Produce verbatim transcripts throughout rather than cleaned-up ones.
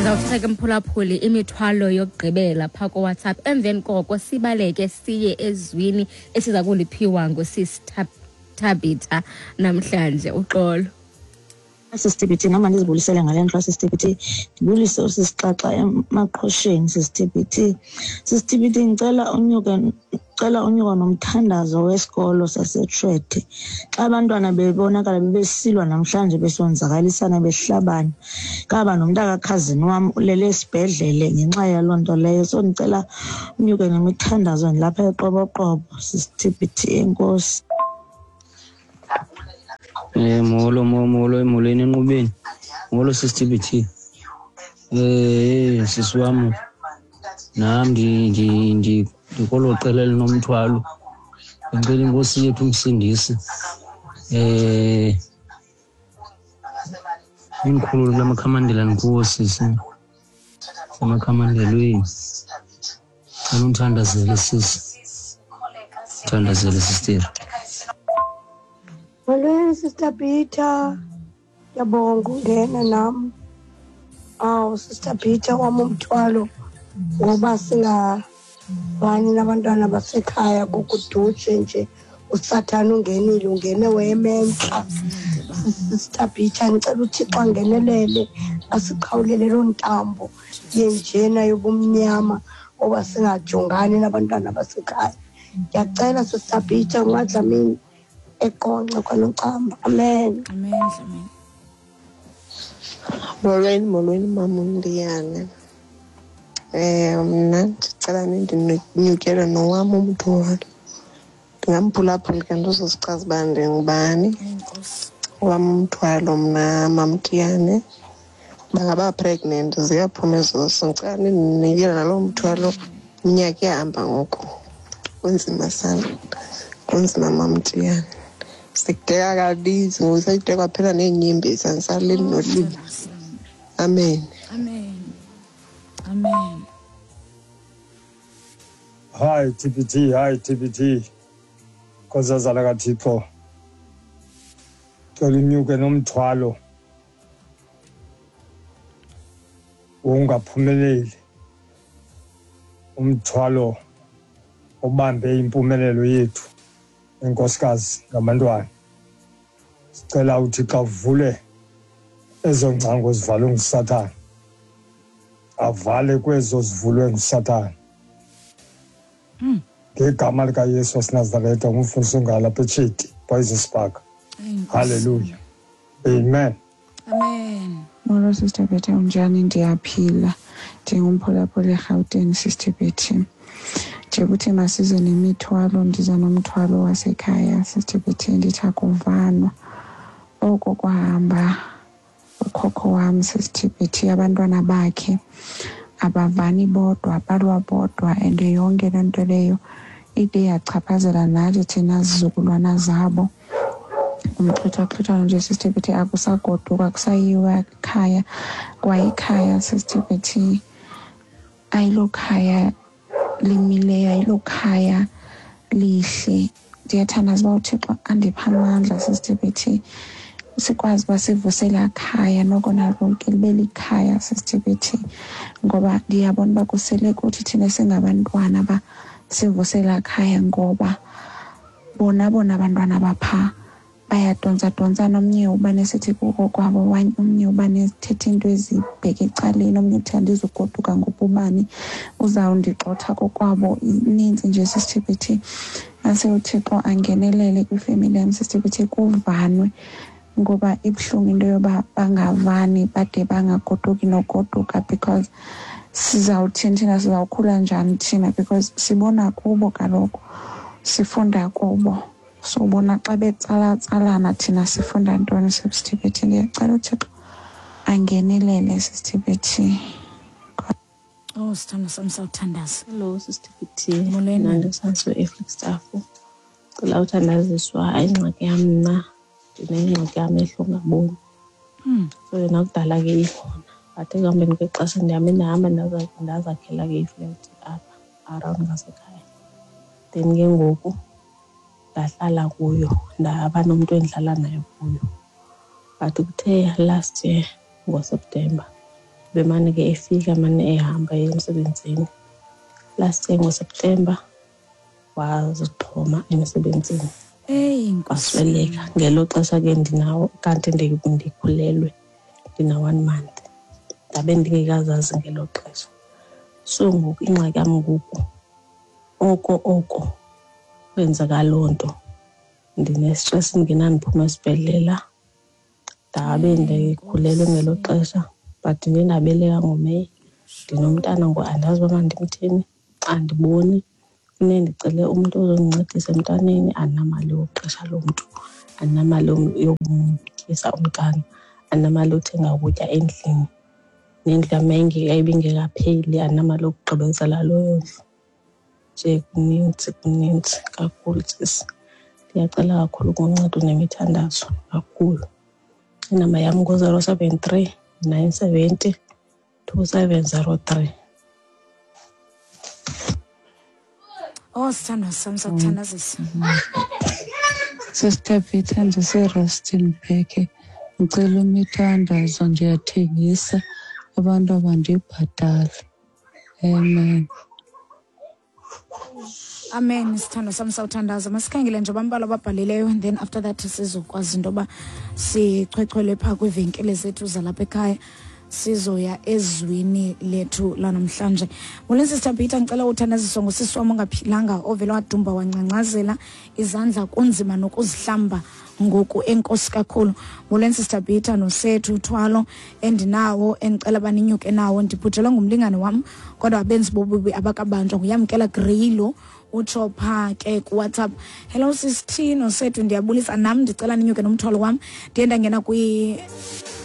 Sizawuthatha ke mphulaphuli imithwalo yokugqibela phaa kuWhatsApp, emveni koko sibaleke siye ezwini esiza kuliphiwa ngusisi Tabitha namhlanje. Uxolo. Sister T B T, nama ndizibulisele ngale ndlu. Sister T B T, ndibulise usisixaxa emaqhosheni. Sister T B T, Sister T B T, ngicela unyuke, cela unyuka nomthandazo wesikolo saseTshwethe. Xa abantwana bebonakala bebesilwa namhlanje, besonzakalisana, behlabana, kaba nomntakakhazini wam ulele esibhedlele ngenxa yaloo nto leyo. So ndicela unyuke nemithandazo, ndilapha eQoboqobo. Sister T B T, enkosi. Eh molo, molo, molweni enqubeni. Molo Sister T B T. Eh sisi wam, nam ndi ndi ndikolo qela elinomthwalo. Ngicela inkosi yethu umsindisi eh inkhulule kula makhamandela ndikuwo sisi, semakhamandelweni. Cela undithandazele sisi, thandazele sister. Molweni Sister Peter, ndiyabonga ungena nam. Awu Sister Peter, wam umthwalo ngoba singavani nabantwana basekhaya kukudutshe nje, usathana ungenile, ungene wementla. Sister Peter, ndicela uThixo angenelele, asiqhawulele loo ntambo yenjena yobumnyama oba singajongani nabantwana basekhaya. Ndiyacela Sister Peter, ungadlamini eQonce kwaNocamba. Amen. Amen, amen. Molweni, molweni mama uNdiyane. Eh mna ndicela nindinyukele nowam umthwalo. Ndingamphulaphuli ke ndizozichaza uba ndingubani. Owam umthwalo mna mamTiyane, bangaba pregnant ziyaphuma ezisu. Ndicela nindinikele naloo mthwalo, iminyaka iyahamba ngoku. Kunzima sana, kunzima mamTiyane. Sikudeka kaninzi ngoku, seyide kwaphela neenyembezi, andisalili nolila. Amen. Amen. Amen. Hi T B T, hi T B T. Nkosazana kaThixo. Cela unyuke nomthwalo wongaphumeleli. Umthwalo obambe impumelelo yethu enkosikazi ngabantwana. Sicela uThixo avule ezo ngcango zivalwe nguSathane, avale kwezo zivulwe nguSathane. Ngegama likaYesu waseNazaretha, ngumfundisi ongalapha eTshiti, Poison Park. Hallelujah. Amen. Amen. Molo Sister Betty, unjani? Ndiyaphila. Ndingumphulaphuli eRhawutini Sister Betty. Nje kuthi masize nemithwalo, ndiza nomthwalo wasekhaya Sister Betty, ndithi akuvanwa. Oko kwahamba ukhokho wam Sister Betty, abantwana bakhe abavani bodwa, balwa bodwa, and yonke loo nto leyo ide yachaphazela nathi thina zizukulwana zabo. Umxhwithwaxhwithwano nje Sister Betty, akusagoduka, akusayiwa ekhaya, kwaye ikhaya Sister Betty ayilo khaya limileyo, ayilo khaya lihle. Ndiyathandaza uba uThixo andiphe amandla Sister Betty, sikwazi uba sivusela khaya, noko nalo ke libe likhaya Sister Betty, ngoba ndiyabona uba kusele kuthi thina singabantwana ba sivusela khaya, ngoba bona bona abantwana bapha bayadontsa-dontsana, omnye uba nesithi kukokwabo, omnye uba nesithetha into ezibheke ecaleni, omnye uthi andizugoduka ngoba ubani uzawundigxotha kokwabo. Ininzi nje Sister Betty, ase uThixo angenelele kwifemeli yam Sister Betty, kuvanwe, ngoba ibuhlungu into yoba bangavani bade bangagoduki nogoduka, because sizawuthini thina, sizawukhula njani thina, because sibona kubo kaloku, sifunda kubo. So bona xa betsalatsalana thina sifunda ntoni Sister Betty? Ndiyacela uThixo angenelele Sister Betty. Oh, sithando sam, sawuthandaza. Hello Sister Betty. Molweni. Mna ndisansiwe eFlagstaff. Cela uthandaziswa, hayi ingxaki yam mna, ndinengxaki yamehlo ongaboni. So yona kudala ke ikhona, but ekuhambeni kwexesha ndihambe ndahamba ndazakhela ke iflat apha around ngasekhaya. Then ke ngoku ndahlala kuyo, ndaba nomntu endihlala naye kuyo. But kuthe last year ngoSeptemba Bemane ke efika mane ehamba emsebenzini. Last year ngoSeptember wazixhoma emsebenzini. Hey, wasweleka. Ngelo xesha ke ndinawo kanti ndikhulelwe ndina one month. Ndabe ndingekazazi ngelo xesha. So ngoku ingxaki yam ngoku oko oko kwenzeka loo nto. Ndine-stress ndingenandiphuma esibhedlela. Ndabe ndikhulelwe ngelo xesha but ndiye ndabeleka ngoMeyi. Ndinomntana ngoku andazi uba mandimthini, andiboni. Funeke ndicele umntu ozondincedisa emntaneni, andinamali yokuqesha loo mntu, andinamali yokumtyisa umntana, andinamali yothenga ukutya endlini. Nendlu yam ibingekapheli, andinamali yokugqibezela leyo ndlu. Nje kunintsi kunintsi kakhulu sisi. Ndiyacela kakhulu kuncedo nemithandazo kakhulu. Inamba yam ngu-zero seven three nine seventy two seven zero three. Oh, sithandwa sam, sakuthandazisa. Sister Peter, ndiseRustenburg. Ndicela imithandazo, ndiyathengisa abantu abandibhatali. Amen. Amen, sithandwa sam, sawuthandaza. Masikhangele nje bambalwa ababhalileyo and then after that sizokwazi into yoba sichwechwele phaa kwiivenkile zethu zalapha ekhaya, sizoya ezwini lethu lanamhlanje. Molweni Sister Peter, ngicela uthandaziswa ngosisi wam ongaphilanga ovele wadumba wancancazela izandla kunzima nokuzihlamba ngoku, enkosi kakhulu. Molweni Sister Peter nosethu uthwalo endinawo endicela baninyuke nawo, ndibhujelwe ngumlingane wam kodwa abenzi bobubi abakabanjwa, nguyamkela Greylo utsho phaa ke kuWhatsApp. Hello Sis T nosethu, ndiyabulisa nam, ndicela ninyuke nomthwalo wam. Ndiye ndangena kwi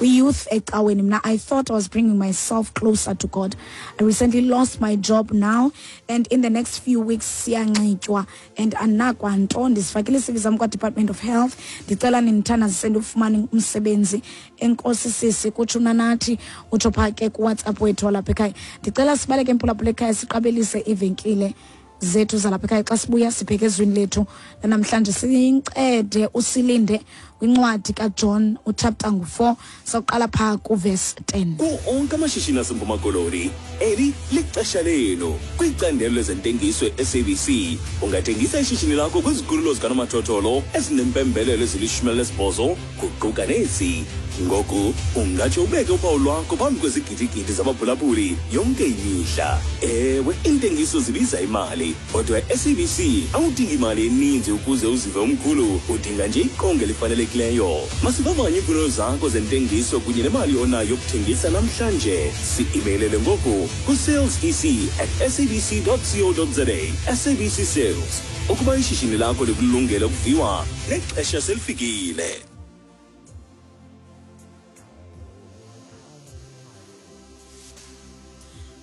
youth ecaweni mna. I thought I was bringing myself closer to God. I recently lost my job now and in the next few weeks siyanxitywa and anakwanto. Ndizifakile i-C V zam kwa-Department of Health. Ndicela nindithandazise ndifumane umsebenzi. Enkosi sisi, kutsho uNanathi, utsho phaa ke kuWhatsApp wethu walapha ekhaya. Ndicela sibaleke emphulaphula ekhaya siqabelise ivenkile zethu zalapha ekhaya. Xa sibuya sibheke ezwini lethu namhlanje, sincede usilinde kwincwadi kaJohn uchapter ngu-four, sawuqala phaa kuverse ten. Kuwo onke amashishini aseMpuma Koloni, eli lixesha lenu. Kwicandelo lezentengiso e-S A B C, ungathengisa ishishini lakho kwizikhululo zikanomathotholo ezinempembelelo ezilishumi elinesibhozo kuquka nezi. Ngoku ungatsho ubeke uphawu lwakho phambi kwezigidigidi zabaphulaphuli yonke imihla. Ewe, iintengiso zibiza imali, kodwa e-S A B C awudingi imali eninzi ukuze uzive umkhulu, udinga nje iqonga elifanelekileyo. Masivavanye iimfuno zakho zentengiso kunye nemali onayo yokuthengisa namhlanje. Si-imeylele ngoku ku-sales e c at s a b c dot co dot za. S A B C Sales, ukuba ishishini lakho likulungele ukuviwa, nexesha selifikile.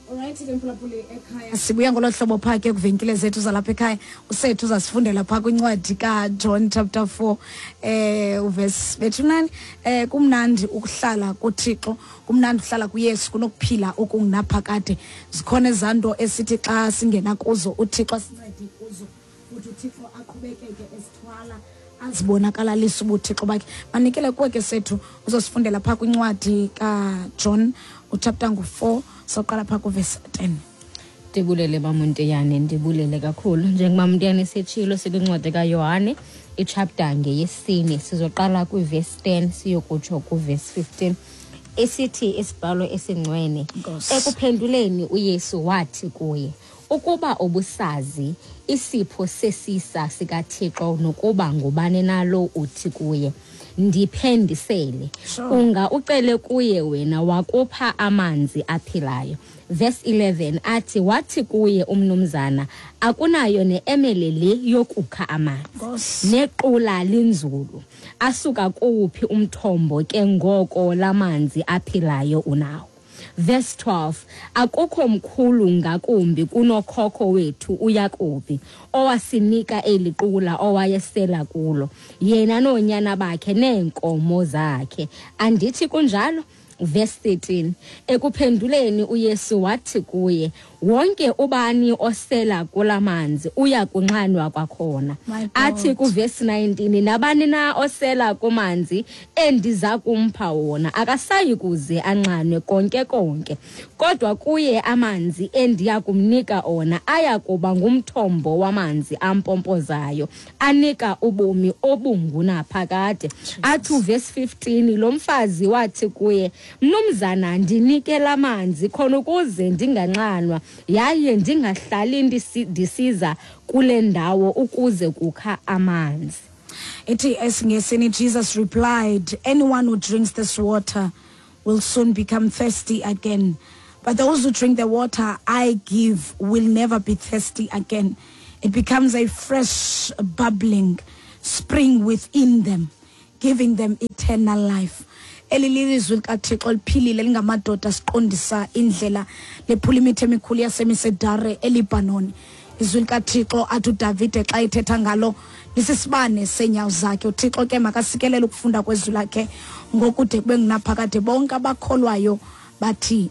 Alright, ke mphulaphuli ekhaya, sibuya ngolo hlobo phaa ke kwivenkile zethu zalapha ekhaya. Usethu uzasifundela phaa kwincwadi kaJohn chapter four eh uverse bethunani. Eh kumnandi ukuhlala kuThixo, kumnandi ukuhlala kuYesu kunokuphila okungunaphakade. Zikhona ezanto esithi xa singena kuzo uThixo asincede kuzo, futhi uThixo aqhubekeke esithwala azibonakalalisa ubuthixo bakhe. Manikele kuwe ke sethu, uzosifundela phaa kwincwadi kaJohn uchapter ngu-four, soqala phaa kuverse ten. Ndibulele Mamuntiyane, ndibulele kakhulu. Njengoba Muntiyane setshilo sikwincwadi kaYohane ichapter ngeyesine, sizoqala kwiverse ten siyokutsho kuverse fifteen. Esithi isibhalo esingcwele, ekuphenduleni uYesu wathi kuye, ukuba ubusazi isipho sesisa sikaThixo nokuba ngubani nalo uthi kuye, ndiphendisele, sure. Unga ucele kuye wena wakupha amanzi aphilayo. Verse eleven athi wathi kuye umnumzana, akunayo neemele le yokukha amanzi, nequla linzulu, asuka kuwuphi umthombo ke ngoko lamanzi aphilayo unawo. Verse twelve, akukho mkhulu ngakumbi kunokhokho wethu uYakobi owasinika eli qula owayesela kulo, yena noonyana bakhe neenkomo zakhe. Andithi kunjalo? Verse thirteen, ekuphenduleni uYesu wathi kuye, wonke ubani osela kula manzi uya kunxanwa kwakhona. Athi kuverse nineteen, nabani na osela kumanzi endiza kumpha wona akasayi kuze anxanwe konke konke, kodwa kuye amanzi endiya kumnika ona aya kuba ngumthombo wamanzi ampompozayo anika ubomi obungunaphakade. Athi uverse fifteen, lo mfazi wathi kuye, mnumzana, ndinike lamanzi khona ukuze ndinganxanwa yaye ndingahlali ndisiza kule ndawo ukuze kukha amanzi. Ithi esiNgesini, Jesus replied, anyone who drinks this water will soon become thirsty again, but those who drink the water I give will never be thirsty again. It becomes a fresh bubbling spring within them, giving them eternal life. Eli lilizwi likaThixo liphilile lingamadoda siqondisa indlela lephula imithi emikhulu yasemisedare eLebanon. Izwi likaThixo athi uDavide xa ethetha ngalo lisisibane seenyawo zakhe. UThixo ke makasikelele ukufunda kwezwi lakhe ngokude kube ngunaphakade. Bonke abakholwayo bathi